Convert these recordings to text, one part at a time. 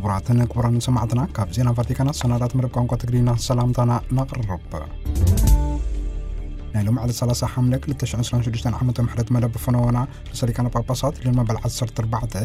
ክቡራትን ክቡራን ሰማዕትና፣ ካብ ዜና ቫቲካን ኣሰናዳት መደብ ቋንቋ ትግርኛ ሰላምታና ነቕርብ። ናይ ሎም ዕለት ሰላሳ ሓምለ ክልተ ሽሕን ዕስራን ሽዱሽተን ዓመተ ምሕረት መደብ ፈነወና ርእሰ ሊቃነ ጳጳሳት ሊዮን መበል ዓሰርተ ኣርባዕተ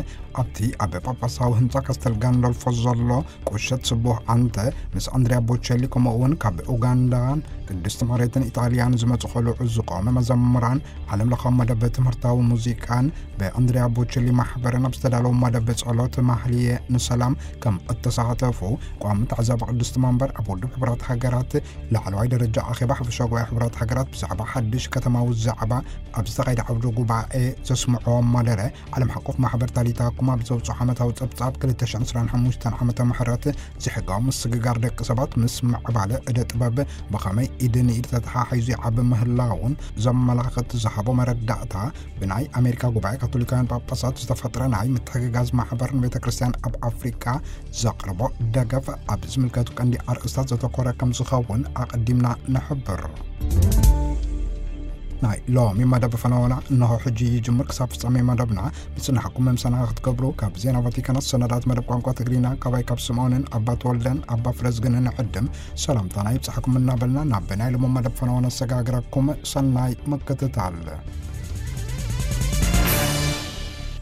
ኣብቲ ኣብ ጳጳሳዊ ህንጻ ካስተል ጋንዶልፎ ዘሎ ቁሸት ስቡሕ ኣንተ ምስ ኣንድሪያ ቦቸሊ፣ ከምኡ እውን ካብ ኡጋንዳን ቅድስቲ መሬትን ኢጣልያን ዝመጹ ቆልዑ ዝቆመ መዘምራን ዓለም ለኻዊ መደብ ትምህርታዊ ሙዚቃን ብኣንድሪያ ቦቸሊ ማሕበርን ኣብ ዝተዳለወ መደብ ጸሎት ማህልየ ንሰላም ከም እተሳተፉ ቋሚ ተዓዛቢ ቅድስቲ መንበር ኣብ ውድብ ሕቡራት ሃገራት ላዕለዋይ ደረጃ ኣኼባ ሓፈሻዊ ጉባኤ ሕቡራት ሃገራት ብዛዕባ ሓድሽ ከተማዊ ዛዕባ ኣብ ዝተኻየደ ዓውደ ጉባኤ ዘስምዖ መደረ ዓለም ሓቆፍ ማሕበር ታሊታ ኩማ ብዘውፅኦ ዓመታዊ ጸብጻብ ክልተ ሽሕን ዕስራን ሓሙሽተን ዓመተ ምሕረት ዘይሕጋዊ ምስግጋር ደቂ ሰባት ምስ ምዕባለ እደ ጥበብ ብኸመይ ኢድ ንኢድ ተተሓሒዙ ይዓቢ ምህላውን ዘመላኽት ዝሃቦ መረዳእታ፣ ብናይ ኣሜሪካ ጉባኤ ካቶሊካውያን ጳጳሳት ዝተፈጥረ ናይ ምትሕግጋዝ ማሕበር ንቤተ ክርስቲያን ኣብ ኣፍሪቃ ዘቕርቦ ደገፍ ኣብ ዝምልከቱ ቀንዲ ኣርእስታት ዘተኮረ ከም ዝኸውን ኣቐዲምና ንሕብር። ናይ ሎሚ መደብ ፈነወና እንሆ ሕጂ ይጅምር። ክሳብ ፍጻሜ መደብና ምጽናሕኩም መምሰና ክትገብሩ ካብ ዜና ቫቲካን ሰነዳት መደብ ቋንቋ ትግርኛ ካባይ ካብ ስምዖንን ኣባ ተወልደን ኣባ ፍረዝግንን ዕድም ሰላምታና ይብጻሕኩም እናበልና ናብ ናይ ሎሚ መደብ ፈነወና ሰጋግረኩም። ሰናይ ምክትታል።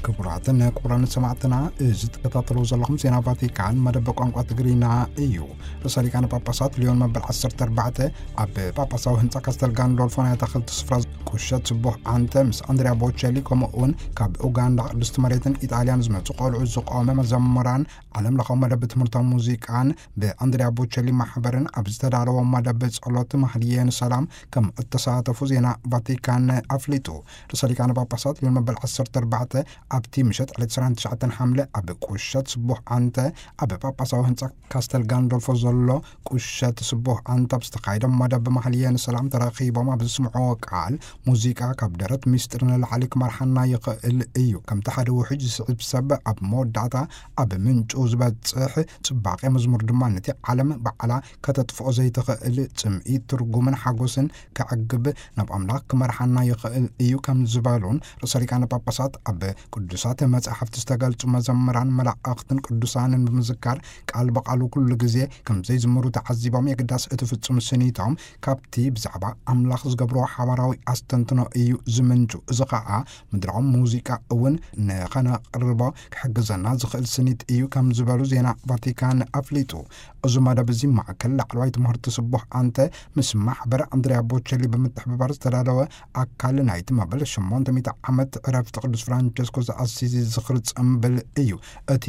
ክቡራትን ክቡራን ሰማዕትና፣ እዚ ትከታተልዎ ዘለኹም ዜና ቫቲካን መደብ ቋንቋ ትግርኛ እዩ። ርእሰ ሊቃነ ጳጳሳት ሊዮን መበል ዓሰርተ ኣርባዕተ ኣብ ጳጳሳዊ ህንጻ ካስተል ጋንዶልፎ ናይ ኣታኽልቲ ስፍራ ቁሸት ስቡሕ ኣንተ ምስ ኣንድሪያ ቦቸሊ፣ ከምኡ እውን ካብ ኡጋንዳ ቅድስቲ መሬትን ኢጣልያን ዝመጹ ቆልዑ ዝቆመ መዘምራን ዓለም ለኻዊ መደብ ትምህርታዊ ሙዚቃን ብኣንድሪያ ቦቸሊ ማሕበርን ኣብ ዝተዳለወ መደብ ጸሎት ማህልየ ንሰላም ከም እተሳተፉ ዜና ቫቲካን ኣፍሊጡ። ርእሰ ሊቃነ ጳጳሳት ሊዮን መበል ዓሰርተ ኣርባዕተ ኣብቲ ምሸት ዕለት ዕስራን ትሽዓተን ሓምለ ኣብ ቁሸት ስቡሕ ኣንተ ኣብ ጳጳሳዊ ህንጻ ካስተል ጋንዶልፎ ዘሎ ቁሸት ስቡሕ ኣንተ ኣብ ዝተኻየደ መደብ ማህልየ ንሰላም ተረኺቦም ኣብ ዝስምዕዎ ቃል፣ ሙዚቃ ካብ ደረት ሚስጥር ንላዕሊ ክመርሓና ይኽእል እዩ። ከምቲ ሓደ ውሕጅ ዝስዕብ ሰብ ኣብ መወዳእታ ኣብ ምንጩ ዝበጽሕ ጽባቐ መዝሙር ድማ ነቲ ዓለም ባዕላ ከተጥፍኦ ዘይትኽእል ጽምኢ ትርጉምን ሓጎስን ከዕግብ ናብ ኣምላኽ ክመርሓና ይኽእል እዩ ከም ዝበሉን ርእሰ ሊቃነ ጳጳሳት ኣብ ቅዱሳት መጻሕፍቲ ዝተገልጹ መዘምራን መላእኽትን ቅዱሳንን ብምዝካር ቃል ብቓሉ ኩሉ ግዜ ከም ዘይዝምሩ ተዓዚቦም የግዳስ እቲ ፍጹም ስኒቶም ካብቲ ብዛዕባ ኣምላኽ ዝገብርዎ ሓባራዊ ኣስተንትኖ እዩ ዝምንጩ። እዚ ኸኣ ምድራዊ ሙዚቃ እውን ንኸነቕርቦ ክሕግዘና ዝኽእል ስኒት እዩ ከም ዝበሉ ዜና ቫቲካን ኣፍሊጡ። እዚ መደብ እዚ ማእከል ላዕለዋይ ትምህርቲ ስቡሕ ኣንተ ምስ ማሕበር ኣንድሪያ ቦቸሊ ብምትሕብባር ዝተዳለወ ኣካል ናይቲ መበል ሸሞንተ ሚእቲ ዓመት ዕረፍቲ ቅዱስ ፍራንቸስኮ ዘኣሲዚ ዝኽሪ ጽምብል እዩ። እቲ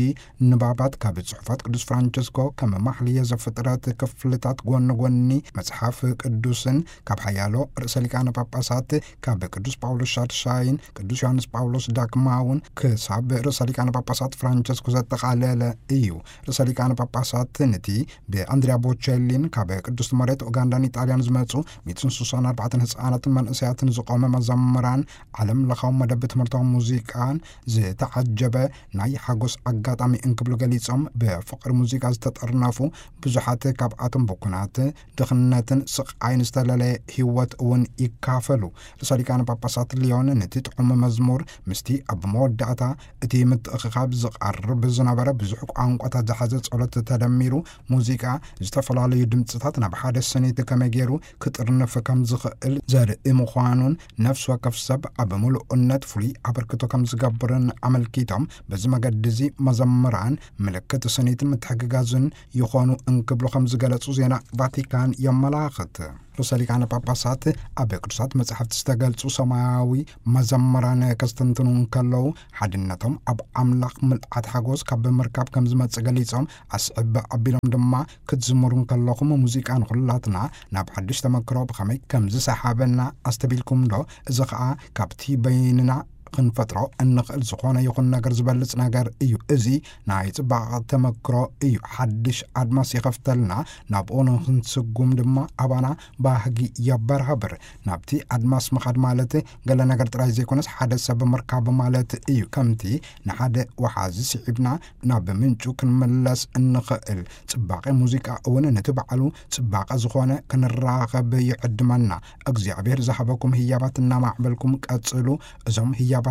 ንባባት ካብ ጽሑፋት ቅዱስ ፍራንቸስኮ ከም ማሕልየ ዘፍጥረት ክፍልታት ጎኒ ጎኒ መጽሓፍ ቅዱስን ካብ ሓያሎ ርእሰ ሊቃነ ጳጳሳት ካብ ቅዱስ ጳውሎስ ሻድሻይን ቅዱስ ዮሃንስ ጳውሎስ ዳግማውን ክሳብ ርእሰ ሊቃነ ጳጳሳት ፍራንቸስኮ ዘጠቓለለ እዩ። ርእሰ ሊቃነ ጳጳሳት ነቲ ብኣንድሪያ ቦቸሊን ካብ ቅዱስ መሬት ኡጋንዳን ኢጣልያን ዝመጹ ሚእትን ስሳን ኣርባዕተን ህጻናትን መንእሰያትን ዝቆመ መዘምራን ዓለም ለኻዊ መደብ ትምህርታዊ ሙዚቃን ዝተዓጀበ ናይ ሓጎስ ኣጋጣሚ እንክብሉ ገሊጾም፣ ብፍቕሪ ሙዚቃ ዝተጠርነፉ ብዙሓት ካብኣቶም ብኩናት፣ ድኽነትን ስቓይን ዝተለለየ ህይወት እውን ይካፈሉ። ርእሰ ሊቃነ ጳጳሳት ሊዮን ነቲ ጥዑም መዝሙር ምስቲ ኣብ መወዳእታ እቲ ምትእኽኻብ ዝቐርብ ዝነበረ ብዙሕ ቋንቋታት ዝሓዘ ጸሎት ተደሚሩ፣ ሙዚቃ ዝተፈላለዩ ድምጽታት ናብ ሓደ ስኒት ከመይ ገይሩ ክጥርንፍ ከም ዝኽእል ዘርኢ ምዃኑን፣ ነፍሲ ወከፍ ሰብ ኣብ ምሉእነት ፍሉይ ኣበርክቶ ከም ዝገብርን ኣመልኪቶም፣ በዚ መገዲ እዚ መዘምራን ምልክት ስኒትን ምትሕግጋዝን ይኾኑ እንክብሉ ከም ዝገለጹ ዜና ቫቲካን የመላኽት። ርእሰ ሊቃነ ጳጳሳት ኣብ ቅዱሳት መጻሕፍቲ ዝተገልጹ ሰማያዊ መዘምራን ከስተንትኑ እንከለዉ፣ ሓድነቶም ኣብ ኣምላኽ ምልኣት ሓጎስ ካብ ምርካብ ከም ዝመጽእ ገሊጾም፣ ኣስዕብ ኣቢሎም ድማ፣ ክትዝምሩ እንከለኹም ሙዚቃ ንኹላትና ናብ ሓድሽ ተመክሮ ብኸመይ ከም ዝሰሓበና ኣስተቢልኩም ዶ? እዚ ኸኣ ካብቲ በይንና ክንፈጥሮ እንኽእል ዝኾነ ይኹን ነገር ዝበልጽ ነገር እዩ። እዚ ናይ ጽባቐ ተመክሮ እዩ። ሓድሽ ኣድማስ ይኸፍተልና፣ ናብኡ ንኽንስጉም ድማ ኣባና ባህጊ የበራብር። ናብቲ ኣድማስ ምኻድ ማለት ገለ ነገር ጥራይ ዘይኮነስ፣ ሓደ ሰብ ምርካብ ማለት እዩ። ከምቲ ንሓደ ወሓዚ ስዒብና ናብ ምንጩ ክንምለስ እንኽእል፣ ጽባቐ ሙዚቃ እውን ነቲ ባዕሉ ጽባቐ ዝኾነ ክንራኸብ ይዕድመና። እግዚኣብሔር ዝሃበኩም ህያባት እናማዕበልኩም ቀጽሉ። እዞም ህያባት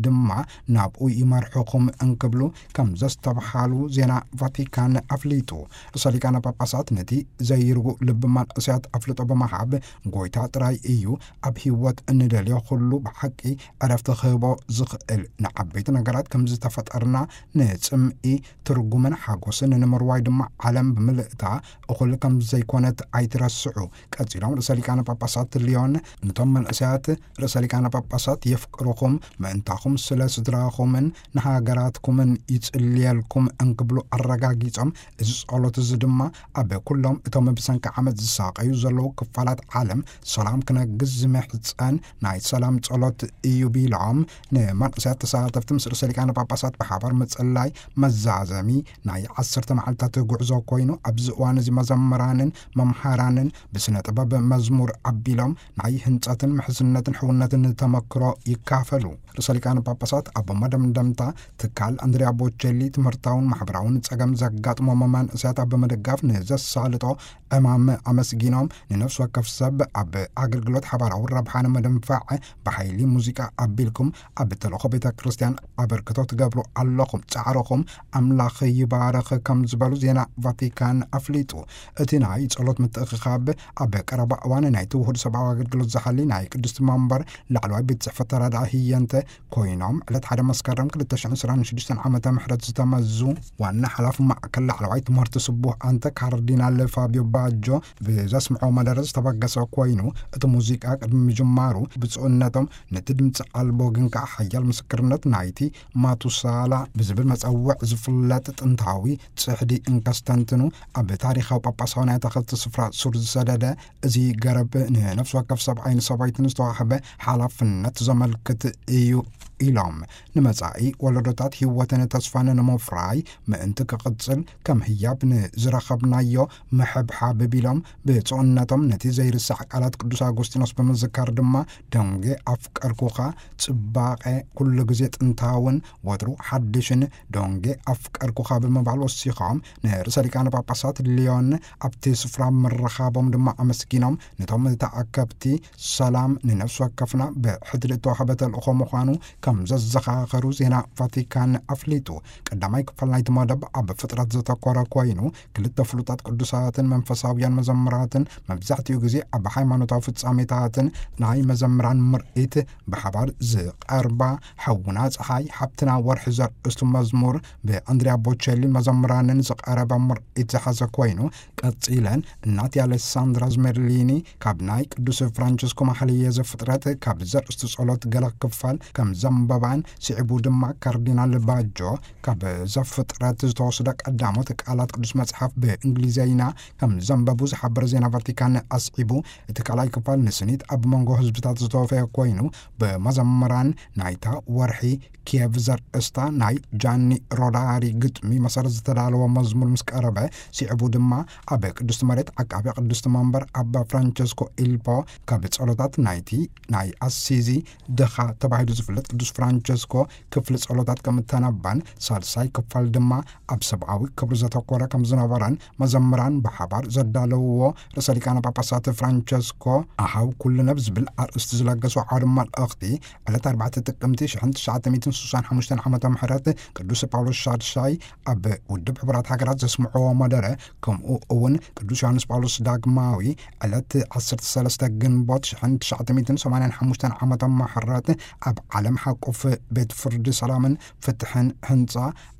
ድማ ናብኡ ይመርሕኹም እንክብሉ ከም ዘስተብሃሉ ዜና ቫቲካን ኣፍሊጡ። ርእሰ ሊቃነ ጳጳሳት ነቲ ዘይርጉእ ልቢ መንእሰያት ኣፍልጦ ብምሃብ፣ ጎይታ ጥራይ እዩ ኣብ ህይወት እንደልዮ ኩሉ ብሓቂ ዕረፍቲ ክህቦ ዝኽእል። ንዓበይቲ ነገራት ከም ዝተፈጠርና፣ ንጽምኢ ትርጉምን ሓጎስን ንምርዋይ ድማ ዓለም ብምልእታ እኹል ከም ዘይኮነት ኣይትረስዑ። ቀጺሎም ርእሰ ሊቃነ ጳጳሳት ሊዮን፣ ነቶም መንእሰያት ርእሰ ሊቃነ ጳጳሳት የፍቅርኹም፣ ምእንታኹም ስለ ስድራኹምን ንሃገራትኩምን ይጽልየልኩም እንክብሉ ኣረጋጊጾም፣ እዚ ጸሎት እዚ ድማ ኣብ ኩሎም እቶም ብሰንኪ ዓመት ዝሳቐዩ ዘለዉ ክፋላት ዓለም ሰላም ክነግስ ዝምሕጸን ናይ ሰላም ጸሎት እዩ ቢሎም፣ ንመንእሰያት ተሳተፍቲ ምስ ርእሰ ሊቃነ ጳጳሳት ብሓባር ምጽላይ መዛዘሚ ናይ ዓሰርተ መዓልታት ጉዕዞ ኮይኑ፣ ኣብዚ እዋን እዚ መዘምራንን መምሃራንን ብስነ ጥበብ መዝሙር ኣቢሎም ናይ ህንጸትን ምሕዝነትን ሕውነትን ተመክሮ ይካፈሉ። ርእሰ ሊቃነ ጳጳሳት ኣብ መደምደምታ፣ ትካል ኣንድሪያ ቦቸሊ ትምህርታውን ማሕበራውን ጸገም ዘጋጥሞም መንእሰያት ኣብ ምድጋፍ ንዘሳልጦ ዕማም ኣመስጊኖም፣ ንነፍሲ ወከፍ ሰብ ኣብ ኣገልግሎት ሓባራዊ ረብሓ ንምድንፋዕ ብሓይሊ ሙዚቃ ኣቢልኩም ኣብ ተልእኾ ቤተ ክርስቲያን ኣበርክቶ ትገብሩ ኣለኹም፣ ጻዕርኹም ኣምላኽ ይባርኽ ከም ዝበሉ ዜና ቫቲካን ኣፍሊጡ። እቲ ናይ ጸሎት ምትእኽኻብ ኣብ ቀረባ እዋን ናይቲ ውሁድ ሰብኣዊ ኣገልግሎት ዝሓሊ ናይ ቅድስቲ መንበር ላዕለዋይ ቤት ጽሕፈት ተራድኣ ህየንተ ኮይኖም፣ ዕለት ሓደ መስከረም ክልተ ሽሕን ዕስራን ሽዱሽተን ዓመተ ምሕረት ዝተመዙ ዋና ሓላፊ ማእከል ላዕለዋይ ትምህርቲ ስቡህ ኣንተ ካርዲናል ፋቢዮ ባጆ ብዘስምዖ መደረ ዝተበገሰ ኮይኑ፣ እቲ ሙዚቃ ቅድሚ ምጅማሩ ብፁዕነቶም ነቲ ድምፂ ኣልቦ ግን ከዓ ሓያል ምስክርነት ናይቲ ማቱሳላ ብዝብል መጸውዕ ዝፍለጥ ጥንታዊ ጽሕዲ እንከስተንትኑ፣ ኣብ ታሪኻዊ ጳጳሳዊ ናይ ኣታኽልቲ ስፍራ ሱር ዝሰደደ እዚ ገረብ ንነፍሲ ወከፍ ሰብኣይን ሰበይትን ዝተዋህበ ሓላፍነት ዘመልክት እዩ ኢሎም፣ ንመጻኢ ወለዶታት ህይወትን ተስፋን ንምፍራይ ምእንቲ ክቕጽል ከም ህያብ ንዝረኸብናዮ ምሕብሓብ ቢሎም፣ ብጽኡነቶም ነቲ ዘይርሳዕ ቃላት ቅዱስ ኣጎስጢኖስ ብምዝካር ድማ፣ ደንጌ ኣፍቀርኩኻ፣ ጽባቐ ኩሉ ግዜ ጥንታውን ወትሩ ሓድሽን ደንጌ ኣፍቀርኩኻ ብምባል ወሲኾም፣ ንርእሰ ሊቃነ ጳጳሳት ሊዮን ኣብቲ ስፍራ ምርኻቦም ድማ ኣመስጊኖም፣ ነቶም ተኣከብቲ ሰላም ንነፍሲ ወከፍና ብሕድሪ እተዋህበ ተልእኾ ምዃኑ ከም ዘዘኻኸሩ ዜና ቫቲካን ኣፍሊጡ። ቀዳማይ ክፋል ናይቲ መደብ ኣብ ፍጥረት ዘተኮረ ኮይኑ፣ ክልተ ፍሉጣት ቅዱሳትን መንፈሳውያን መዘምራትን መብዛሕትኡ ግዜ ኣብ ሃይማኖታዊ ፍጻሜታትን ናይ መዘምራን ምርኢት ብሓባር ዝቐርባ፣ ሓውና ጸሓይ፣ ሓብትና ወርሒ ዘርእስቱ መዝሙር ብኣንድሪያ ቦቸሊን መዘምራንን ዝቐረበ ምርኢት ዝሓዘ ኮይኑ፣ ቀጺለን እናት ኣሌሳንድራ ዝሜርሊኒ ካብ ናይ ቅዱስ ፍራንቸስኮ ማሕለየ ዘፍጥረት ካብ ዘርእስቱ ጸሎት ገለ ክፋል ከም ዘንበባን፣ ስዒቡ ድማ ካርዲናል ባጆ ካብ ዘፍጥረት ዝተወስደ ቀዳሞት ቃላት ቅዱስ መጽሓፍ ብእንግሊዘይና ከም ዘንበቡ ዝሓበረ ዜና ቫቲካን ኣስዒቡ፣ እቲ ካልኣይ ክፋል ንስኒት ኣብ መንጎ ህዝብታት ዝተወፈየ ኮይኑ፣ ብመዘምራን ናይታ ወርሒ ኪየቭ ዘርእስታ ናይ ጃኒ ሮዳሪ ግጥሚ መሰረት ዝተዳለወ መዝሙር ምስ ቀረበ፣ ስዒቡ ድማ ኣብ ቅድስቲ መሬት ዓቃቢ ቅድስቲ መንበር ኣባ ፍራንቸስኮ ኢልፖ ካብ ጸሎታት ናይቲ ናይ ኣሲዚ ድኻ ተባሂሉ ዝፍለጥ ቅዱስ ፍራንቸስኮ ክፍሊ ጸሎታት ከም እተነበን፣ ሳልሳይ ክፋል ድማ ኣብ ሰብኣዊ ክብሪ ዘተኮረ ከም ዝነበረን መዘምራን ብሓባር ዘዳለውዎ ርእሰ ሊቃነ ጳጳሳት ፍራንቸስኮ ኣሃው ኩልነ ብዝብል ኣርእስቲ ዝለገሶ ዓውደ መልእኽቲ፣ ዕለት ኣርባዕተ ጥቅምቲ ሽሕን ትሽዓተ ሚእትን ስሳን ሓሙሽተን ዓመተ ምሕረት ቅዱስ ጳውሎስ ሻድሻይ ኣብ ውድብ ሕቡራት ሃገራት ዘስምዕዎ መደረ፣ ከምኡ እውን ቅዱስ ዮሃንስ ጳውሎስ ዳግማዊ ዕለት ዓሰርተ ሰለስተ ግንቦት ሽሕን ትሽዓተ ሚእትን ሰማንያን ሓሙሽተን ዓመተ ምሕረት ኣብ ዓለም ሓቁፍ ቤት ፍርዲ ሰላምን ፍትሕን ህንጻ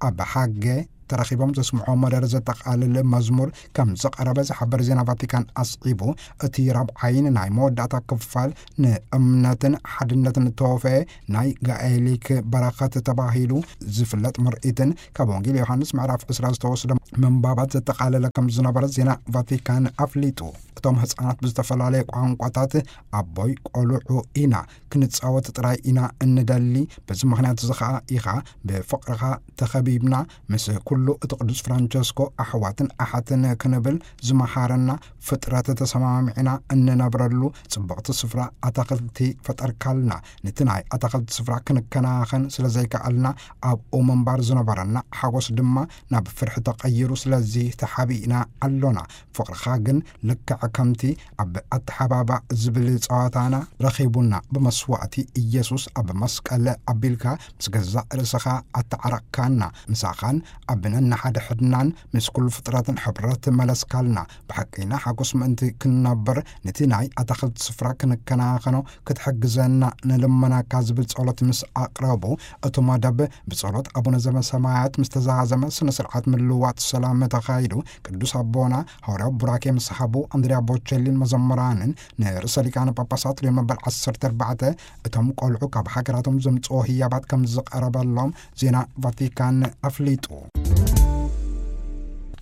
ኣብ ሃገ ተረኺቦም ዘስምዖ መደረ ዘጠቓልል መዝሙር ከም ዝቐረበ ዝሓበር ዜና ቫቲካን ኣስዒቡ፣ እቲ ራብዓይን ናይ መወዳእታ ክፋል ንእምነትን ሓድነትን እተወፈየ ናይ ጋኤሊክ በረኸት ተባሂሉ ዝፍለጥ ምርኢትን ካብ ወንጌል ዮሃንስ ምዕራፍ ዕስራ ዝተወስደ ምንባባት ዘጠቓለለ ከም ዝነበረ ዜና ቫቲካን ኣፍሊጡ። እቶም ህጻናት ብዝተፈላለየ ቋንቋታት፣ ኣቦይ ቆልዑ ኢና፣ ክንጻወት ጥራይ ኢና እንደሊ፣ በዚ ምኽንያት እዚ ኸኣ ኢኻ ብፍቕርኻ ተኸቢብና፣ ምስ ኩሉ እቲ ቅዱስ ፍራንቸስኮ ኣሕዋትን ኣሓትን ክንብል ዝመሃረና ፍጥረት ተሰማሚዕና እንነብረሉ ጽብቕቲ ስፍራ ኣታኽልቲ ፈጠርካልና። ነቲ ናይ ኣታኽልቲ ስፍራ ክንከናኸን ስለ ዘይከኣልና ኣብኡ ምንባር ዝነበረና ሓጎስ ድማ ናብ ፍርሒ ተቐይሩ። ስለዚ ተሓቢእና ኣሎና። ፍቕርኻ ግን ልክዕ ከምቲ ኣብ ኣተሓባባ ዝብል ጸዋታና ረኺቡና። ብመስዋእቲ ኢየሱስ ኣብ መስቀል ኣቢልካ ምስ ገዛእ ርእስኻ ኣተዓረቕካና። ምሳኻን ኣብ ነንሓድሕድናን ምስ ኩሉ ፍጥረትን ሕብረት መለስካልና። ብሓቂና ሓጎስ ምእንቲ ክንነብር ነቲ ናይ ኣታኽልቲ ስፍራ ክንከናኸኖ ክትሕግዘና ንልመናካ ዝብል ጸሎት ምስ ኣቕረቡ፣ እቲ መደብ ብጸሎት ኣቡነ ዘበሰማያት ምስ ተዛዘመ ስነ ስርዓት ምልዋጥ ሰላም ተኻይዱ። ቅዱስ ኣቦና ሃዋርያዊ ቡራኬ ምስ ሃቡ፣ ኣንድሪያ ቦቸሊን መዘምራንን ንርእሰ ሊቃነ ጳጳሳት ሊዮን መበል ዓሰርተ ኣርባዕተ እቶም ቆልዑ ካብ ሃገራቶም ዘምጽኦ ህያባት ከም ዝቐረበሎም ዜና ቫቲካን ኣፍሊጡ።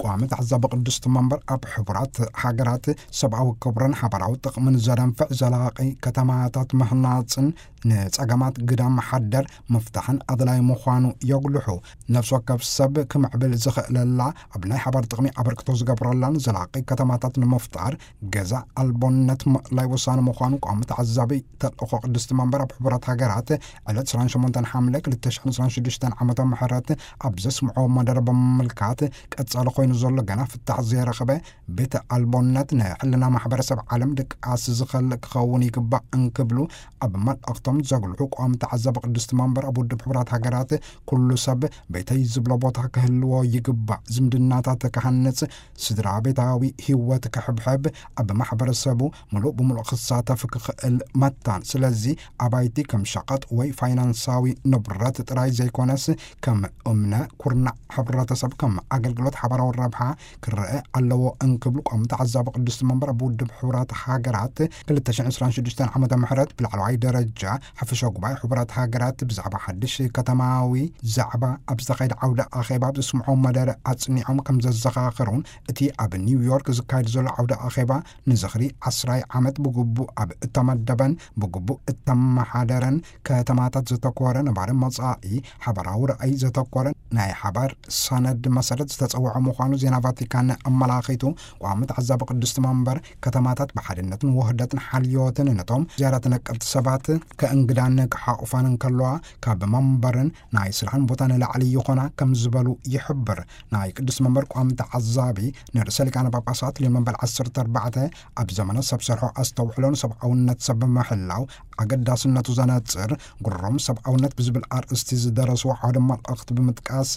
ቋሚ ተዓዛቢ ቅድስቲ መንበር ኣብ ሕቡራት ሃገራት ሰብኣዊ ክብርን ሓባራዊ ጥቕምን ዘደንፍዕ ዘላቒ ከተማታት ምህናጽን ንጸገማት ግዳም ሓደር ምፍታሕን ኣድላይ ምዃኑ የጉልሑ። ነፍሲ ወከፍ ሰብ ክምዕብል ዝኽእለላ፣ ኣብ ናይ ሓባር ጥቕሚ ኣበርክቶ ዝገብረላን ዘላቒ ከተማታት ንምፍጣር ገዛ ኣልቦነት ምእላይ ወሳኒ ምዃኑ ቋሚ ተዓዛቢ ተልእኾ ቅድስቲ መንበር ኣብ ሕቡራት ሃገራት ዕለት ዕስራን ሸሞንተን ሓምለ ክልተ ሽሕን ዕስራን ሽዱሽተን ዓመተ ምህረት ኣብ ዘስምዖ መደረ ብምምልካት፣ ቀጻሊ ኮይኑ ዘሎ ገና ፍታሕ ዘይረኸበ ቤተ ኣልቦነት ንሕልና ማሕበረሰብ ዓለም ድቃስ ዝኸልእ ክኸውን ይግባእ እንክብሉ ኣብ መልእኽቶም ዘጉልሑ፣ ቋሚ ተዓዛቢ ቅድስቲ መንበር ኣብ ውድብ ሕቡራት ሃገራት ኩሉ ሰብ ቤተይ ዝብሎ ቦታ ክህልዎ ይግባእ፣ ዝምድናታት ክሃንጽ፣ ስድራ ቤታዊ ህይወት ክሕብሕብ፣ ኣብ ማሕበረሰቡ ምሉእ ብምሉእ ክሳተፍ ክኽእል መታን። ስለዚ ኣባይቲ ከም ሸቐጥ ወይ ፋይናንሳዊ ንብረት ጥራይ ዘይኮነስ ከም እምነ ኩርናዕ ሕብረተሰብ፣ ከም ኣገልግሎት ሓባራዊ ረብሓ ክረአ ኣለዎ እንክብሉ ቋሚ ተዓዛቢ ቅድስቲ መንበር ኣብ ውድብ ሕቡራት ሃገራት ክልተ ሽሕን ዕስራን ሽዱሽተን ዓመተ ምህረት ብላዕለዋይ ደረጃ ሓፈሻ ጉባኤ ሕቡራት ሃገራት ብዛዕባ ሓድሽ ከተማዊ ዛዕባ ኣብ ዝተኻየደ ዓውደ ኣኼባ ኣብ ዘስምዖ መደረ ኣጽኒዖም ከም ዘዘኻኸሩን፣ እቲ ኣብ ኒውዮርክ ዝካየድ ዘሎ ዓውደ ኣኼባ ንዝኽሪ ዓስራይ ዓመት ብግቡእ ኣብ እተመደበን ብግቡእ እተመሓደረን ከተማታት ዘተኮረ፣ ነባሪ መጻኢ ሓባራዊ ራእይ ዘተኮረ ናይ ሓባር ሰነድ መሰረት ዝተጸውዐ ምዃኑ ዜና ቫቲካን ኣመላኺቱ። ቋሚ ተዓዛቢ ቅድስቲ መንበር፣ ከተማታት ብሓድነትን ውህደትን ሓልዮትን ነቶም ዝያዳ ተነቀፍቲ ሰባት ከእንግዳን ክሓቑፋን እንከለዋ፣ ካብ መንበርን ናይ ስራሕን ቦታ ንላዕሊ ይኾና ከም ዝበሉ ይሕብር። ናይ ቅድስቲ መንበር ቋሚ ተዓዛቢ ንርእሰ ሊቃነ ጳጳሳት ሊዮን መበል ዓሰርተ ኣርባዕተ ኣብ ዘመነ ሰብ ሰርሖ ኣስተውዕሎ ንሰብኣውነት ሰብ ምሕላው ኣገዳስነቱ ዘነጽር ግሩም ሰብኣውነት ብዝብል ኣርእስቲ ዝደረስዎ ሓደ መልእኽቲ ብምጥቃስ፣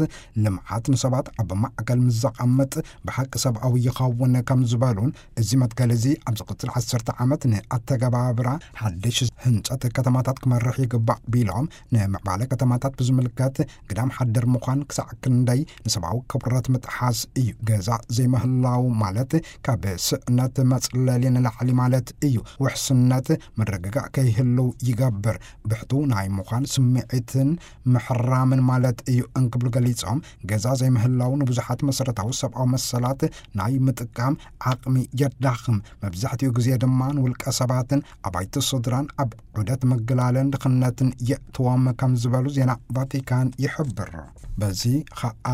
ልምዓት ንሰባት ኣብ ማእከል ምስ ዘቐምጥ ብሓቂ ሰብኣዊ ይኸውን ከም ዝበሉን፣ እዚ መትከል እዚ ኣብ ዝቕጽል ዓሰርተ ዓመት ንኣተገባብራ ሓድሽ ህንጸት ከተማታት ክመርሕ ይግባእ ቢሎም፣ ንምዕባለ ከተማታት ብዝምልከት ግዳም ሓደር ምዃን ክሳዕ ክንደይ ንሰብኣዊ ክብረት ምጥሓስ እዩ። ገዛ ዘይምህላው ማለት ካብ ስእነት መጽለሊ ንላዕሊ ማለት እዩ። ውሕስነት ምርግጋእ ከይህልው ይገብር። ብሕቱ ናይ ምዃን ስምዒትን ምሕራምን ማለት እዩ እንክብሉ ገሊጾም፣ ገዛ ዘይምህላው ንብዙሓት መሰረታዊ ሰብኣዊ መሰላት ናይ ምጥቃም ዓቕሚ የዳኽም። መብዛሕትኡ ግዜ ድማ ንውልቀ ሰባትን ኣባይቲ ስድራን ኣብ ዑደት ምግላለን ድኽነትን የእትዎም ከም ዝበሉ ዜና ቫቲካን ይሕብር። በዚ ኸኣ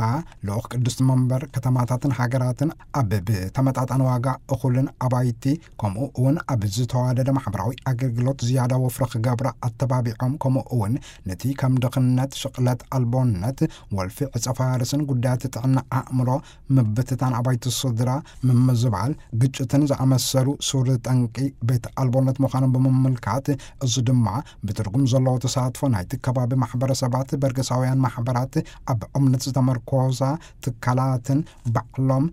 ልኡኽ ቅድስቲ መንበር ከተማታትን ሃገራትን ኣብ ብተመጣጣኒ ዋጋ እኹልን ኣባይቲ ከምኡ እውን ኣብ ዝተዋደደ ማሕበራዊ ኣገልግሎት ዝያዳ ወፍሪ ክገብራ ኣተባቢዖም፣ ከምኡ እውን ነቲ ከም ድኽነት፣ ሽቕለት ኣልቦነት፣ ወልፊ ዕጸ ፋርስን ጉዳያት ጥዕና ኣእምሮ ምብትታን ኣባይቲ ስድራ ምምዝባል፣ ግጭትን ዝኣመሰሉ ሱር ጠንቂ ቤት ኣልቦነት ምዃኖም ብምምልካት፣ እዚ ድማ ብትርጉም ዘለዎ ተሳትፎ ናይቲ ከባቢ ማሕበረሰባት፣ በርገሳውያን ማሕበራት፣ ኣብ እምነት ዝተመርኮዛ ትካላትን ባዕሎም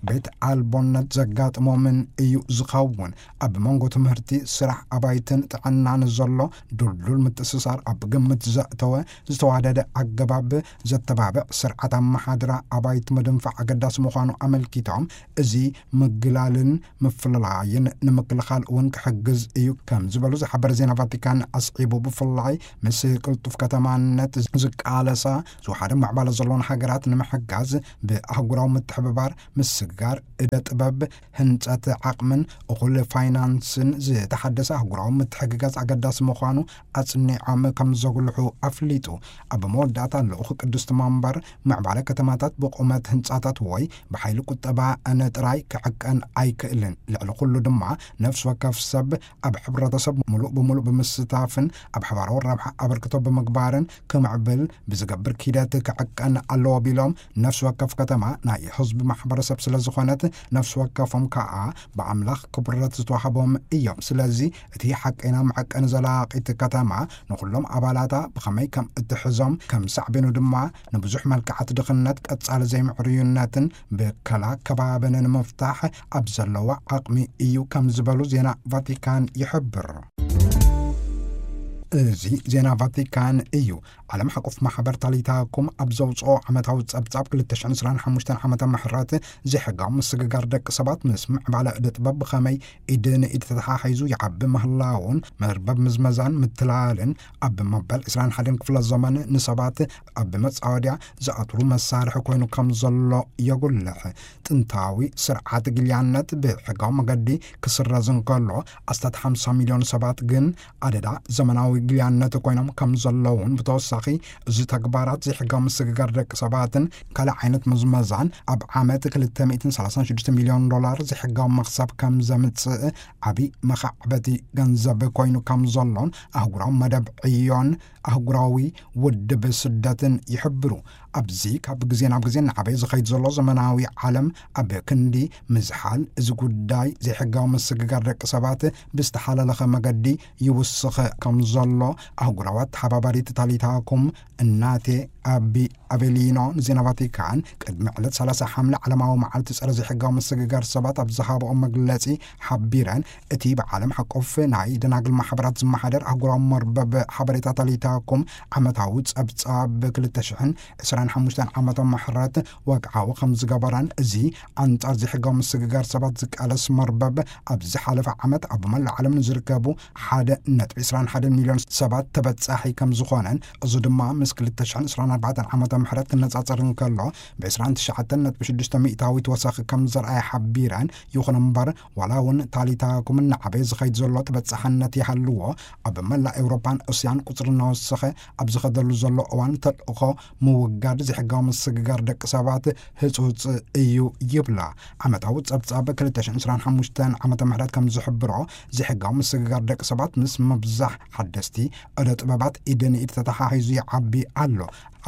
ቤት ኣልቦነት ዘጋጥሞምን እዩ ዝኸውን። ኣብ መንጎ ትምህርቲ፣ ስራሕ፣ ኣባይትን ጥዕናን ዘሎ ድልዱል ምትእስሳር ኣብ ግምት ዘእተወ ዝተዋደደ ኣገባብ ዘተባብዕ ስርዓት ኣመሓድራ ኣባይቲ ምድንፋዕ ኣገዳሲ ኣገዳሲ ምዃኑ ኣመልኪቶም፣ እዚ ምግላልን ምፍልላይን ንምክልኻል እውን ክሕግዝ እዩ ከም ዝበሉ ዝሓበረ ዜና ቫቲካን ኣስዒቡ፣ ብፍላይ ምስ ቅልጡፍ ከተማነት ዝቃለሳ ዝወሓደ ምዕባለ ዘለዎን ሃገራት ንምሕጋዝ ብኣህጉራዊ ምትሕብባር፣ ምስግጋር እደ ጥበብ፣ ህንጸት ዓቕምን እኹል ፋይናንስን ዝተሓደሰ ኣህጉራዊ ምትሕግጋዝ ኣገዳሲ ምዃኑ ኣጽኒዖም ከም ዘጉልሑ ኣፍሊጡ። ኣብ መወዳእታ ልኡኽ ቅድስቲ መንበር፣ ምዕባለ ከተማታት ብቑመት ህንጻታት ወይ ብሓይሊ ቁጠባ ንጥራይ ክዕቀን ኣይክእልን። ልዕሊ ኩሉ ድማ፣ ነፍሲ ወከፍ ሰብ ኣብ ሕብረተሰብ ምሉእ ብምሉእ ብምስታፍን ኣብ ሓባራዊ ረብሓ ኣበርክቶ ብምግባርን ክምዕብል ብዝገብር ኪደት ክዕቀን ኣለዎ ቢሎም፣ ነፍሲ ወከፍ ከተማ ናይ ህዝቢ ማሕበረሰብ ስለ ዝኾነት፣ ነፍሲ ወከፎም ከኣ ብኣምላኽ ክቡረት ዝተዋህቦም እዮም። ስለዚ እቲ ሓቀይና መዐቀኒ ዘላቒት ከተማ ንኹሎም ኣባላታ ብኸመይ ከም እትሕዞም፣ ከም ሳዕቤኑ ድማ ንብዙሕ መልክዓት ድኽነት፣ ቀጻሊ ዘይምዕርዩነትን ብከላ ከባብን ንምፍታሕ ኣብ ዘለዋ ዓቕሚ እዩ ከም ዝበሉ ዜና ቫቲካን ይሕብር። እዚ ዜና ቫቲካን እዩ። ዓለም ሓቆፍ ማሕበር ታሊታኩም ኣብ ዘውፅኦ ዓመታዊ ጸብጻብ ክልተ ሽሕን ዕስራን ሓሙሽተን ዓመተ ምሕረት፣ ዘይሕጋዊ ምስግጋር ደቂ ሰባት ምስ ምዕባለ እደ ጥበብ ብኸመይ ኢድ ንኢድ ተተሓሒዙ ይዓቢ ምህላውን፣ መርበብ ምዝመዛን ምትላልን ኣብ መበል ዕስራን ሓደን ክፍለ ዘመን ንሰባት ኣብ መጻወድያ ዝኣትሩ መሳርሒ ኮይኑ ከም ዘሎ የጉልሕ። ጥንታዊ ስርዓት ግልያነት ብሕጋዊ መገዲ ክስረዝ እንከሎ፣ ኣስታት ሓምሳ ሚልዮን ሰባት ግን ኣደዳ ዘመናዊ ግልያነት ኮይኖም ከም ዘለውን፣ ብተወሳኺ እዚ ተግባራት ዘይሕጋዊ ምስግጋር ደቂ ሰባትን ካልእ ዓይነት ምዝመዛን ኣብ ዓመት ክልተ ሚእትን ሰላሳን ሽዱሽተ ሚልዮን ዶላር ዘይሕጋዊ መኽሰብ ከም ዘምጽእ ዓቢ መኻዕበቲ ገንዘብ ኮይኑ ከም ዘሎን ኣህጉራዊ መደብ ዕዮን ኣህጉራዊ ውድብ ስደትን ይሕብሩ። ኣብዚ ካብ ግዜ ናብ ግዜ እናዓበየ ዝኸይድ ዘሎ ዘመናዊ ዓለም፣ ኣብ ክንዲ ምዝሓል እዚ ጉዳይ ዘይሕጋዊ ምስግጋር ደቂ ሰባት ብዝተሓላለኸ መገዲ ይውስኸ ከም ዘሎ ኣህጉራዊ ኣተሓባባሪት ታሊታኩም እናቴ ኣቢ ኣቬሊኖ ንዜና ቫቲካን ቅድሚ ዕለት ሰላሳ ሓምለ ዓለማዊ መዓልቲ ጸረ ዘይሕጋዊ ምስግጋር ሰባት ኣብ ዝሃብኦ መግለጺ ሓቢረን፣ እቲ ብዓለም ሓቆፍ ናይ ደናግል ማሕበራት ዝመሓደር ኣህጉራዊ መርበብ ሓበሬታ ታሊታኩም ዓመታዊ ጸብጻብ ክልተ ሽሕን ዕስራን ሓሙሽተን ዓመተ ምሕረት ወግዓዊ ከም ዝገበረን፣ እዚ ኣንጻር ዘይሕጋዊ ምስግጋር ሰባት ዝቃለስ መርበብ ኣብ ዝሓለፈ ዓመት ኣብ መላእ ዓለም ንዝርከቡ ሓደ ነጥቢ ዕስራን ሓደን ሚልዮን ሰባት ተበጻሒ ከም ዝኾነን፣ እዚ ድማ ምስ ክልተ ሽሕን ዕስራን ኣርባዕተን ዓመተ ምሕረት ክነጻጸር እንከሎ፣ ብ ዕስራን ትሽዓተን ነጥቢ ሽዱሽተ ሚእታዊት ወሰኺ ከም ዘርኣየ ሓቢረን፣ ይኹን እምበር፣ ዋላ እውን ታሊታኩም እናዓበየ ዝኸይድ ዘሎ ተበጻሕነት ይሃልዎ፣ ኣብ መላእ ኤውሮጳን እስያን ቁጽሪ እናወሰኸ ኣብ ዝኸደሉ ዘሎ እዋን፣ ተልእኾ ምውጋድ ዘይሕጋዊ ምስግጋር ደቂ ሰባት ህጹጽ እዩ ይብላ። ዓመታዊ ጸብጻብ ክልተ ሽሕን ዕስራን ሓሙሽተን ዓመተ ምሕረት ከም ዝሕብሮ፣ ዘይሕጋዊ ምስግጋር ደቂ ሰባት ምስ ምብዛሕ ሓደስቲ ዕደ ጥበባት ኢድ ንኢድ ተተሓሒዙ ይዓቢ ኣሎ።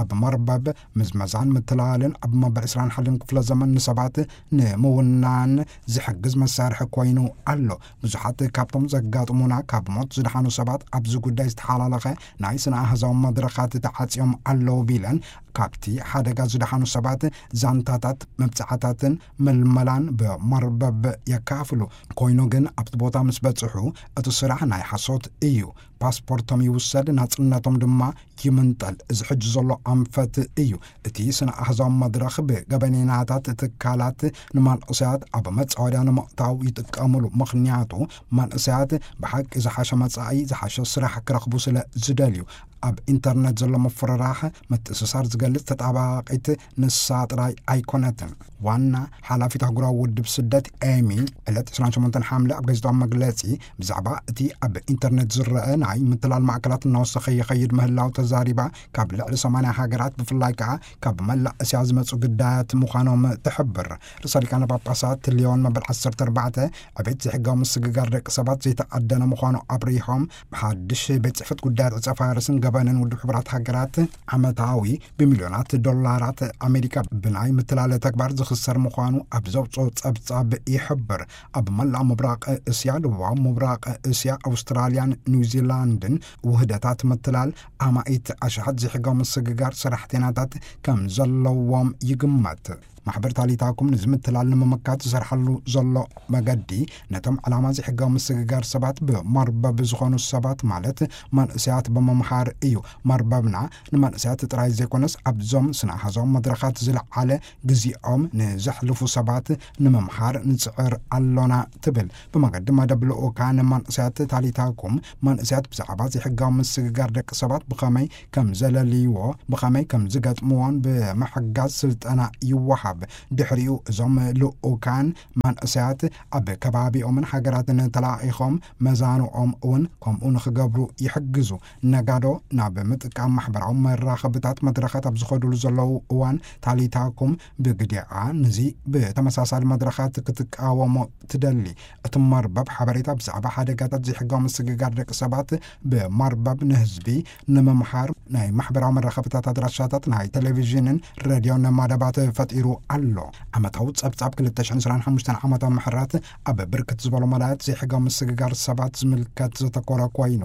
ኣብ መርበብ ምዝመዛን ምትላልን ኣብ መበል ዕስራን ሓደን ክፍለ ዘመን ንሰባት ንምውናን ዝሕግዝ መሳርሒ ኮይኑ ኣሎ። ብዙሓት ካብቶም ዘጋጥሙና ካብ ሞት ዝደሓኑ ሰባት ኣብዚ ጉዳይ ዝተሓላለኸ ናይ ስነ ኣህዛዊ መድረኻት ተዓጽዮም ኣለዉ ቢለን፣ ካብቲ ሓደጋ ዝደሓኑ ሰባት ዛንታታት፣ መብጽዓታትን ምልመላን ብመርበብ የካፍሉ። ኮይኑ ግን ኣብቲ ቦታ ምስ በጽሑ እቲ ስራሕ ናይ ሓሶት እዩ። ፓስፖርቶም ይውሰድ፣ ናጽነቶም ድማ ይምንጠል። እዚ ሕጂ ዘሎ ኣንፈት እዩ። እቲ ስነ ኣህዛዊ መድረኽ ብገበኔናታት ትካላት ንመንእሰያት ኣብ መጻወድያ ንምእታው ይጥቀምሉ። ምኽንያቱ መንእሰያት ብሓቂ ዝሓሸ መጻኢ፣ ዝሓሸ ስራሕ ክረኽቡ ስለ ዝደልዩ። ኣብ ኢንተርነት ዘሎ ምፍርራሕ፣ ምትእስሳር ዝገልጽ ተጣባቂት ንሳ ጥራይ ኣይኮነትን። ዋና ሓላፊት ኣህጉራዊ ውድብ ስደት ኤሚ፣ ዕለት ዕስራን ሸሞንተን ሓምለ ኣብ ጋዜጣዊ መግለጺ ብዛዕባ እቲ ኣብ ኢንተርነት ዝረአ ናይ ምትላል ማእከላት እናወሰኸ ይኸይድ ምህላው ተዛሪባ፣ ካብ ልዕሊ ሰማንያ ሃገራት፣ ብፍላይ ከኣ ካብ መላእ እስያ ዝመጹ ግዳያት ምዃኖም ትሕብር። ርእሰ ሊቃነ ጳጳሳት ሊዮን መበል ዓሰርተ ኣርባዕተ፣ ዕቤት ዘይሕጋዊ ምስግጋር ደቂ ሰባት ዘይተኣደነ ምዃኑ ኣብሪሆም፣ ሓድሽ ቤት ጽሕፈት ጉዳያት ዕጸ ፋርስን ገበንን ውድብ ሕቡራት ሃገራት ዓመታዊ ብሚልዮናት ዶላራት ኣሜሪካ ብናይ ምትላለ ተግባር ዝኽሰር ምዃኑ ኣብ ዘውጽኦ ጸብጻብ ይሕብር። ኣብ መላእ ምብራቕ እስያ፣ ደቡባዊ ምብራቕ እስያ፣ ኣውስትራልያን ኒውዚላንድን ውህደታት ምትላል ኣማኢት ኣሽሓት ዘይሕጋዊ ምስግጋር ሰራሕተኛታት ከም ዘለዎም ይግመት። ማሕበር ታሊታኩም ንዝምትላል ንምምካት ዝሰርሓሉ ዘሎ መገዲ፣ ነቶም ዕላማ ዘይሕጋዊ ምስግጋር ሰባት ብመርበብ ዝኾኑ ሰባት፣ ማለት መንእሰያት፣ ብምምሃር እዩ። መርበብና ንመንእሰያት ጥራይ ዘይኮነስ፣ ኣብዞም ስነ ኣሃዛዊ መድረኻት ዝለዓለ ግዜኦም ንዘሕልፉ ሰባት ንምምሃር ንጽዕር ኣሎና፣ ትብል። ብመገዲ መደብ ልኡካን መንእሰያት ታሊታኩም፣ መንእሰያት ብዛዕባ ዘይሕጋዊ ምስግጋር ደቂ ሰባት ብኸመይ ከም ዘለልይዎ፣ ብኸመይ ከም ዝገጥምዎን ብምሕጋዝ ስልጠና ይወሃብ። ድሕሪኡ እዞም ልኡካን መንእሰያት ኣብ ከባቢኦምን ሃገራትን ተላኢኾም መዛንኦም እውን ከምኡ ንኽገብሩ ይሕግዙ። ነጋዶ ናብ ምጥቃም ማሕበራዊ መራኸብታት መድረኻት ኣብ ዝኸዱሉ ዘለዉ እዋን፣ ታሊታኩም ብግዲኣ ንዚ ብተመሳሳሊ መድረኻት ክትቃወሞ ትደሊ። እቲ መርበብ ሓበሬታ ብዛዕባ ሓደጋታት ዘይሕጋዊ ምስግጋር ደቂ ሰባት ብመርበብ ንህዝቢ ንምምሃር ናይ ማሕበራዊ መራኸብታት ኣድራሻታት፣ ናይ ቴሌቪዥንን ሬድዮን መደባት ፈጢሩ ኣሎ። ዓመታዊ ጸብጻብ ክልተ ሽሕን ዕስራን ሓሙሽተን ዓመተ ምሕረት ኣብ ብርክት ዝበሉ መዳያት ዘይሕጋዊ ምስግጋር ሰባት ዝምልከት ዘተኮረ ኮይኑ፣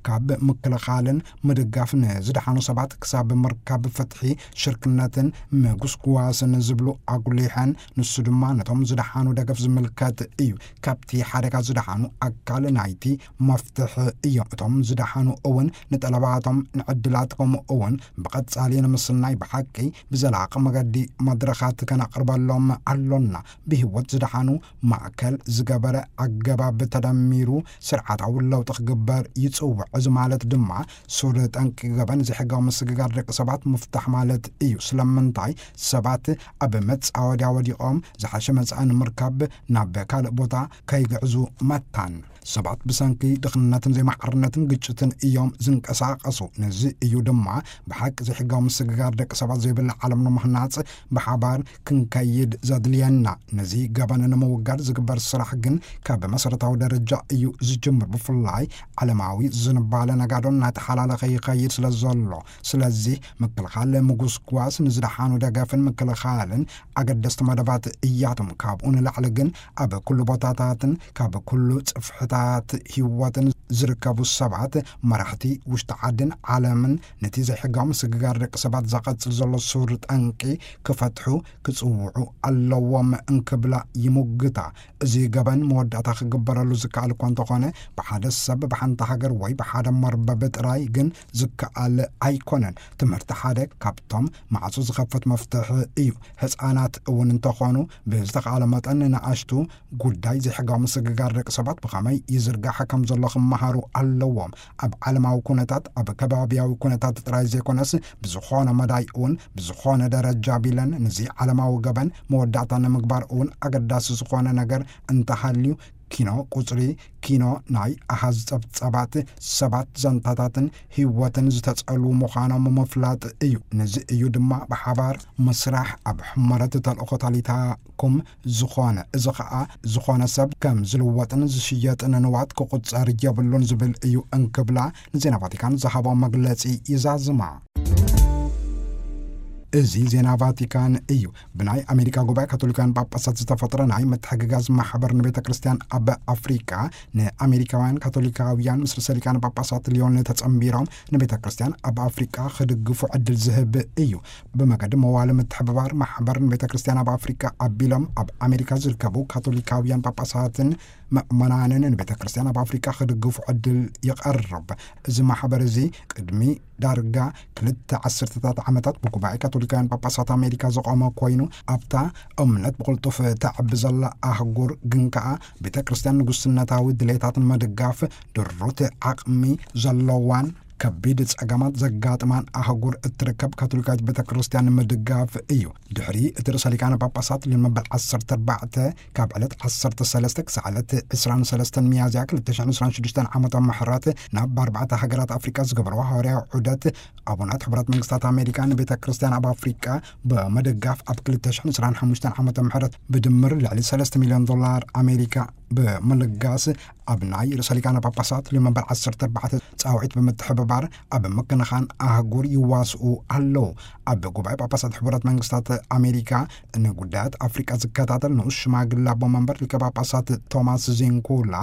ካብ ምክልኻልን ምድጋፍ ንዝደሓኑ ሰባት ክሳብ ምርካብ ፍትሒ፣ ሽርክነትን ምጉስጓስን ዝብሉ ኣጉሊሐን፣ ንሱ ድማ ነቶም ዝደሓኑ ደገፍ ዝምልከት እዩ። ካብቲ ሓደጋ ዝደሓኑ ኣካል ናይቲ መፍትሒ እዮም። እቶም ዝደሓኑ እውን ንጠለባቶም፣ ንዕድላት፣ ከምኡ እውን ብቐጻሊ ንምስናይ ብሓቂ ብዘላቒ መገዲ መድረኻት ከነቕርበሎም ኣሎና። ብህይወት ዝደሓኑ ማእከል ዝገበረ ኣገባብ ተደሚሩ ስርዓታዊ ለውጢ ክግበር ይጽውዕ። እዚ ማለት ድማ ሱር ጠንቂ ገበን ዘይሕጋዊ ምስግጋር ደቂ ሰባት ምፍታሕ ማለት እዩ። ስለምንታይ ሰባት ኣብ መጻወድያ ወዲቖም ዝሓሸ መጻኢ ንምርካብ ናብ ካልእ ቦታ ከይግዕዙ መታን? ሰባት ብሰንኪ ድኽነትን ዘይማዕርነትን ግጭትን እዮም ዝንቀሳቐሱ። ነዚ እዩ ድማ ብሓቂ ዘይሕጋዊ ምስግጋር ደቂ ሰባት ዘይብላ ዓለም ንምህናጽ ብሓባር ክንከይድ ዘድልየና። ነዚ ገበን ንምውጋድ ዝግበር ስራሕ ግን ካብ መሰረታዊ ደረጃ እዩ ዝጅምር። ብፍላይ ዓለማዊ ዝንባለ ነጋዶ እናተሓላለኸ ይኸይድ ስለ ዘሎ፣ ስለዚ ምክልኻል ምጉስጓስ ንዝደሓኑ ደገፍን ምክልኻልን ኣገደስቲ መደባት እያቶም። ካብኡ ንላዕሊ ግን ኣብ ኩሉ ቦታታትን ካብ ኩሉ ጽፍሕታት ህይወትን ዝርከቡ ሰባት፣ መራሕቲ ውሽጢ ዓድን ዓለምን ነቲ ዘይሕጋዊ ምስግጋር ደቂ ሰባት ዘቐጽል ዘሎ ሱር ጠንቂ ክፈትሑ ክጽውዑ ኣለዎም እንክብላ ይሙግታ። እዚ ገበን መወዳእታ ክግበረሉ ዝከኣል እኳ እንተኾነ፣ ብሓደ ሰብ፣ ብሓንቲ ሃገር ወይ ብሓደ መርበብ ጥራይ ግን ዝከኣል ኣይኮነን። ትምህርቲ ሓደ ካብቶም ማዕጾ ዝኸፍት መፍትሒ እዩ። ህጻናት እውን እንተኾኑ፣ ብዝተኻእለ መጠን ንኣሽቱ ጉዳይ ዘይሕጋዊ ምስግጋር ደቂ ሰባት ብኸመይ ይዝርጋሕ ከም ዘሎ ክመሃሩ ኣለዎም። ኣብ ዓለማዊ ኩነታት፣ ኣብ ከባቢያዊ ኩነታት ጥራይ ዘይኮነስ፣ ብዝኾነ መዳይ እውን ብዝኾነ ደረጃ ቢለን ንዚ ዓለማዊ ገበን መወዳእታ ንምግባር እውን ኣገዳሲ ዝኾነ ነገር እንተሃልዩ፣ ኪኖ ቁጽሪ፣ ኪኖ ናይ ኣሃዝ ጸብጻባት፣ ሰባት፣ ዛንታታትን ህይወትን ዝተጸልዉ ምዃኖም ምፍላጥ እዩ። ነዚ እዩ ድማ ብሓባር ምስራሕ ኣብ ሕመረት ተልእኾ ታሊታኩም ዝኾነ። እዚ ኸኣ ዝኾነ ሰብ ከም ዝልወጥን ዝሽየጥን ንዋት ክቑጸር የብሉን ዝብል እዩ እንክብላ ንዜና ቫቲካን ዝሃቦ መግለጺ ይዛዝማ። እዚ ዜና ቫቲካን እዩ። ብናይ ኣሜሪካ ጉባኤ ካቶሊካውያን ጳጳሳት ዝተፈጥረ ናይ ምትሕግጋዝ ማሕበር ንቤተ ክርስቲያን ኣብ ኣፍሪቃ፣ ንኣሜሪካውያን ካቶሊካውያን ምስ ርእሰ ሊቃነ ጳጳሳት ሊዮን ተጸንቢሮም ንቤተ ክርስቲያን ኣብ ኣፍሪቃ ክድግፉ ዕድል ዝህብ እዩ። ብመገዲ መዋለ ምትሕብባር ማሕበር ንቤተ ክርስቲያን ኣብ ኣፍሪቃ ኣቢሎም ኣብ ኣሜሪካ ዝርከቡ ካቶሊካውያን ጳጳሳትን ምእመናንን ንቤተ ክርስቲያን ኣብ ኣፍሪቃ ክድግፉ ዕድል ይቐርብ። እዚ ማሕበር እዚ ቅድሚ ዳርጋ ክልተ ዓሰርተታት ዓመታት ብጉባኤ ካቶሊካውያን ጳጳሳት ኣሜሪካ ዝቖመ ኮይኑ፣ ኣብታ እምነት ብቕልጡፍ ተዕቢ ዘላ ኣህጉር ግን ከኣ ቤተ ክርስቲያን ንጉስነታዊ ድሌታት ንምድጋፍ ድሩት ዓቕሚ ዘለዋን ከቢድ ጸገማት ዘጋጥማን ኣህጉር እትርከብ ካቶሊካዊት ቤተ ክርስቲያን ንምድጋፍ እዩ። ድሕሪ እቲ ርእሰ ሊቃነ ጳጳሳት ሊዮን መበል ዓሰርተ ኣርባዕተ ካብ ዕለት ዓሰርተ ሰለስተ ክሳዕ ዕለት ዕስራን ሰለስተን ሚያዝያ ክልተ ሽሕን ዕስራን ሽዱሽተን ዓመተ ምሕረት ናብ ኣርባዕተ ሃገራት ኣፍሪቃ ዝገበርዎ ሃዋርያዊ ዑደት፣ ኣቡናት ሕቡራት መንግስታት ኣሜሪካ ንቤተ ክርስቲያን ኣብ ኣፍሪቃ ብምድጋፍ ኣብ ክልተ ሽሕን ዕስራን ሓሙሽተን ዓመተ ምሕረት ብድምር ልዕሊ ሰለስተ ሚልዮን ዶላር ኣሜሪካ ብምልጋስ፣ ኣብ ናይ ርእሰ ሊቃነ ጳጳሳት ልዮን መበል ዓሰርተ ኣርባዕተ ጻውዒት ብምትሕብባር ኣብ ምክንኻን ኣህጉር ይዋስኡ ኣለዉ። ኣብ ጉባኤ ጳጳሳት ሕቡራት መንግስታት ኣሜሪካ ንጉዳያት ኣፍሪቃ ዝከታተል ንኡስ ሽማግለ ኣቦ መንበር ሊቀ ጳጳሳት ቶማስ ዚንኩላ፣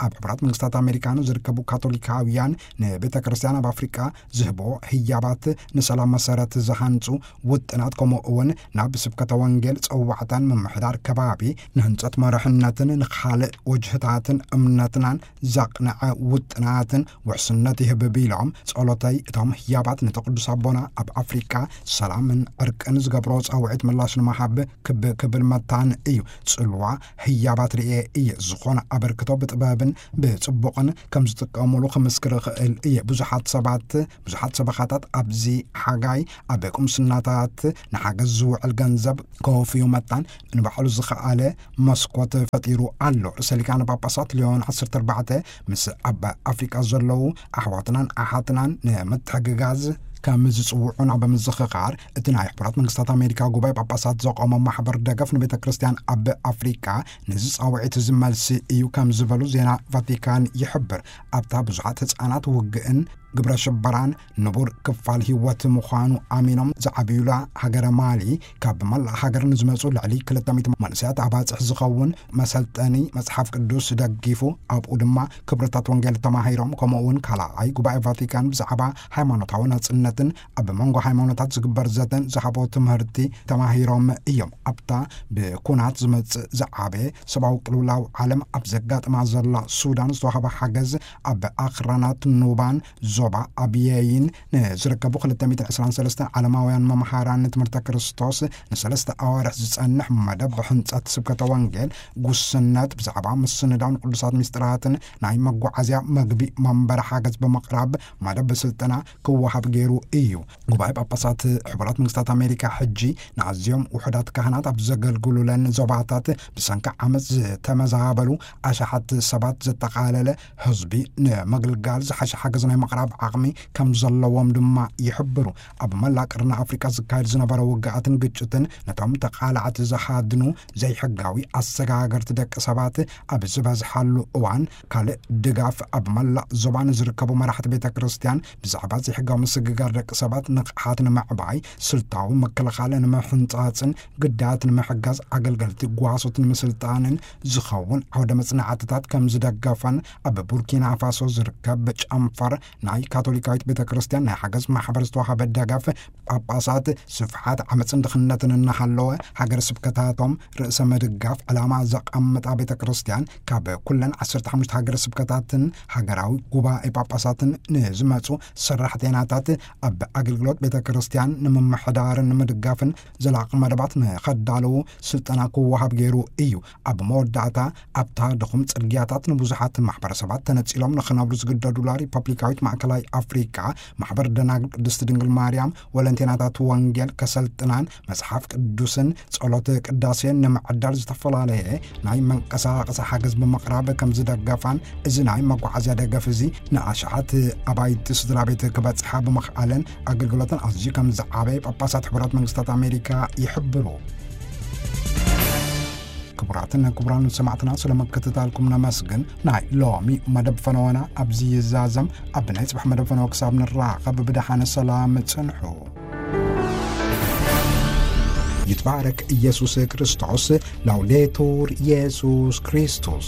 ኣብ ሕቡራት መንግስታት ኣሜሪካ ንዝርከቡ ካቶሊካውያን ንቤተ ክርስቲያን ኣብ ኣፍሪቃ ዝህቦ ህያባት ንሰላም መሰረት ዝሃንጹ ውጥናት፣ ከምኡ እውን ናብ ስብከተ ወንጌል ጸዋዕታን ምምሕዳር ከባቢ ንህንጸት መርሕነትን ንኻልእ ወጅህታትን እምነትናን ዘቕንዐ ውጥናትን ውሕስነት ይህብ ቢሎም፣ ጸሎተይ እቶም ህያባት ነቲ ቅዱስ ኣቦና ኣብ ኣፍሪቃ ሰላምን ዕርቅን ዝገብሮ ጻውዒት ምላሽ ንምሃብ ክብ ክብል መታን እዩ። ጽልዋ ህያባት ርእየ እየ። ዝኾነ ኣበርክቶ ብጥበብን ብጽቡቕን ከም ዝጥቀሙሉ ክምስክር እኽእል እየ። ብዙሓት ሰባት፣ ብዙሓት ሰበኻታት ኣብዚ ሓጋይ ኣብ ቁምስናታት ንሓገዝ ዝውዕል ገንዘብ ከወፍዩ መታን ንባዕሉ ዝኸኣለ መስኮት ፈጢሩ ኣሎ። ርእሰ ሊቃነ ጳጳሳት ሊዮን ዓሰርተ ኣርባዕተ ምስ ኣብ ኣፍሪቃ ዘለዉ ኣሕዋትናን ኣሓትናን ንምትሕግጋዝ ከም ዝጽውዑና ብምዝኽኻር፣ እቲ ናይ ሕቡራት መንግስታት ኣሜሪካ ጉባኤ ጳጳሳት ዘቆመ ማሕበር ደገፍ ንቤተ ክርስቲያን ኣብ ኣፍሪቃ ነዚ ጻውዒት እዚ መልሲ እዩ ከም ዝበሉ ዜና ቫቲካን ይሕብር። ኣብታ ብዙሓት ህጻናት ውግእን ግብረ ሽበራን ንቡር ክፋል ህይወት ምዃኑ ኣሚኖም ዝዓብዩላ ሃገረ ማሊ፣ ካብ መላእ ሃገር ንዝመጹ ልዕሊ ክልተ ሚእቲ መንእሰያት ኣባጽሕ ዝኸውን መሰልጠኒ መጽሓፍ ቅዱስ ደጊፉ፣ ኣብኡ ድማ ክብርታት ወንጌል ተማሂሮም። ከምኡ እውን ካልኣይ ጉባኤ ቫቲካን ብዛዕባ ሃይማኖታዊ ናጽነትን ኣብ መንጎ ሃይማኖታት ዝግበር ዘተን ዝሃቦ ትምህርቲ ተማሂሮም እዮም። ኣብታ ብኩናት ዝመጽእ ዝዓበየ ሰብኣዊ ቅልውላው ዓለም ኣብ ዘጋጥማ ዘላ ሱዳን ዝተዋህበ ሓገዝ፣ ኣብ ኣኽራናት ኑባን ዞባ ኣብየይን ንዝርከቡ ክልተ ሚእትን ዕስራን ሰለስተን ዓለማውያን መምሃራን ትምህርተ ክርስቶስ ንሰለስተ ኣዋርሕ ዝጸንሕ መደብ ሕንጸት ስብከተ ወንጌል፣ ጉስነት፣ ብዛዕባ ምስንዳው ንቅዱሳት ምስጢራትን ናይ መጓዓዝያ፣ መግቢ፣ መንበሪ ሓገዝ ብምቕራብ መደብ ስልጠና ክወሃብ ገይሩ እዩ። ጉባኤ ጳጳሳት ሕቡራት መንግስታት ኣሜሪካ ሕጂ ንኣዝዮም ውሑዳት ካህናት ኣብ ዘገልግሉለን ዞባታት ብሰንኪ ዓመፅ ዝተመዛበሉ ኣሽሓት ሰባት ዘጠቓለለ ህዝቢ ንምግልጋል ዝሓሸ ሓገዝ ናይ ምቕራብ ዓቕሚ ከም ዘለዎም ድማ ይሕብሩ። ኣብ መላእ ቀርኒ ኣፍሪቃ ዝካየድ ዝነበረ ውግኣትን ግጭትን ነቶም ተቓላዕቲ ዝሃድኑ ዘይሕጋዊ ኣሰጋገርቲ ደቂ ሰባት ኣብ ዝበዝሓሉ እዋን፣ ካልእ ድጋፍ ኣብ መላእ ዞባ ንዝርከቡ መራሕቲ ቤተ ክርስቲያን ብዛዕባ ዘይሕጋዊ ምስግጋር ደቂ ሰባት ንቕሓት ንምዕባይ፣ ስልታዊ ምክልኻል ንምሕንጻጽን ግዳያት ንምሕጋዝ ኣገልገልቲ ጓሶት ንምስልጣንን ዝኸውን ዓውደ መጽናዕትታት ከም ዝደገፈን ኣብ ቡርኪና ፋሶ ዝርከብ ጨንፈር ናይ ካቶሊካዊት ቤተ ክርስቲያን ናይ ሓገዝ ማሕበር ዝተዋሃበ ደገፍ፣ ጳጳሳት ስፍሓት ዓመፅን ድኽነትን እናሃለወ ሃገረ ስብከታቶም ርእሰ ምድጋፍ ዕላማ ዘቐምጣ ቤተ ክርስቲያን ካብ ኩለን ዓሰርተ ሓሙሽተ ሃገረ ስብከታትን ሃገራዊ ጉባኤ ጳጳሳትን ንዝመፁ ሰራሕተኛታት ኣብ ኣገልግሎት ቤተ ክርስቲያን ንምምሕዳርን ንምድጋፍን ዘላቒ መደባት ንኸዳለዉ ስልጠና ክወሃብ ገይሩ እዩ። ኣብ መወዳእታ፣ ኣብታ ድኹም ጽርግያታት ንብዙሓት ማሕበረሰባት ተነጺሎም ንኽነብሩ ዝግደዱላ ሪፐብሊካዊት ማእከላይ ኣፍሪቃ፣ ማሕበር ደናግል ቅድስቲ ድንግል ማርያም ወለንቴናታት ወንጌል ከሰልጥናን መጽሓፍ ቅዱስን ጸሎት ቅዳሴን ንምዕዳል ዝተፈላለየ ናይ መንቀሳቐሲ ሓገዝ ብምቕራብ ከም ዝደገፋን፣ እዚ ናይ መጓዓዝያ ደገፍ እዚ ንኣሽሓት ኣባይቲ ስድራ ቤት ክበጽሓ ብምኽኣለን ኣገልግሎተን ኣዝዩ ከም ዝዓበየ ጳጳሳት ሕቡራት መንግስታት ኣሜሪካ ይሕብሩ። ክቡራትን ክቡራን ሰማዕትና፣ ስለ ምክትታልኩም ነመስግን። ናይ ሎሚ መደብ ፈነወና ኣብዚ ይዛዘም። ኣብ ናይ ጽባሕ መደብ ፈነወ ክሳብ ንራኸብ፣ ብደሓን ሰላም ጽንሑ። ይትባረክ ኢየሱስ ክርስቶስ። ላውዴቱር ኢየሱስ ክርስቶስ።